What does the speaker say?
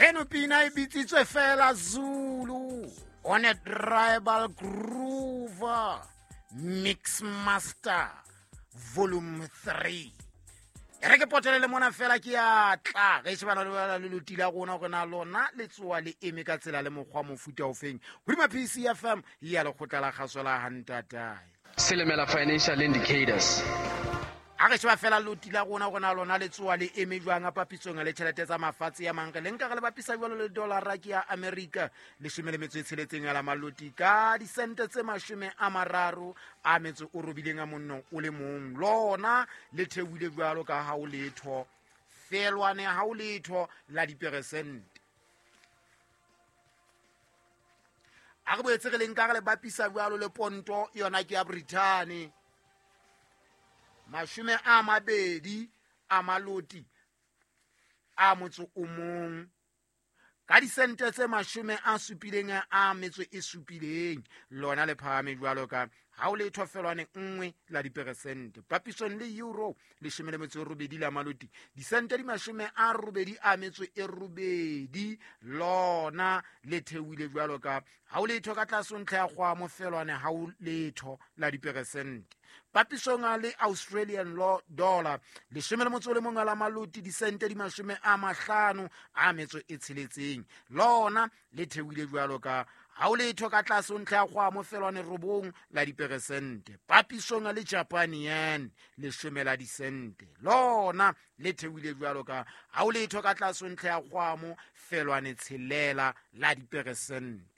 Eno pina e bitsitswe fela Zulu on a tribal groove, Mix Master Volume 3. E re ke potele le mona fela ke ya tla ge shebana le le loti la rona gore na lona le tsoa le eme ka tsela le mokgwa mofuta ofeng hodima PCFM ya lekgotla la kgaso la hantatae. Silimela Financial Indicators. A re sheba fela loti la rona gore na lona le tsoa le eme jwang a papisong le tjhelete tsa mafatshe ya mang, re le nka re le bapisa jwalo le dollara ke ya America 17 ya la maloti ka disente tse 38 a monno o le mong. Lona le theohile jwalo ka ha o letho felwane ha o letho la diperesente. A re boetse re le nka re le bapisa jwalo le ponto yona ke ya Britain 20 a maloti a motso o mong ka disente tse 77, lona le phahame jwalo ka ha o letho felwane 1 la diperesente. Papisong le euro 18 la maloti disente di 88, lona le theohile jwalo ka ha o letho ka tlase ntlha ya kgwamo felwane ha o letho la diperesente. Papisong le Australian dollar 11 la maloti disente di 56, lona le theohile jwalo ka ha o letho ka tlase ntlha ya kgwamo felwane 9 la diperesente. Papisong le Japan yen 10 la disente, lona le theohile jwalo ka ha o letho ka tlase ntlha ya kgwamo felwane 6 la diperesente.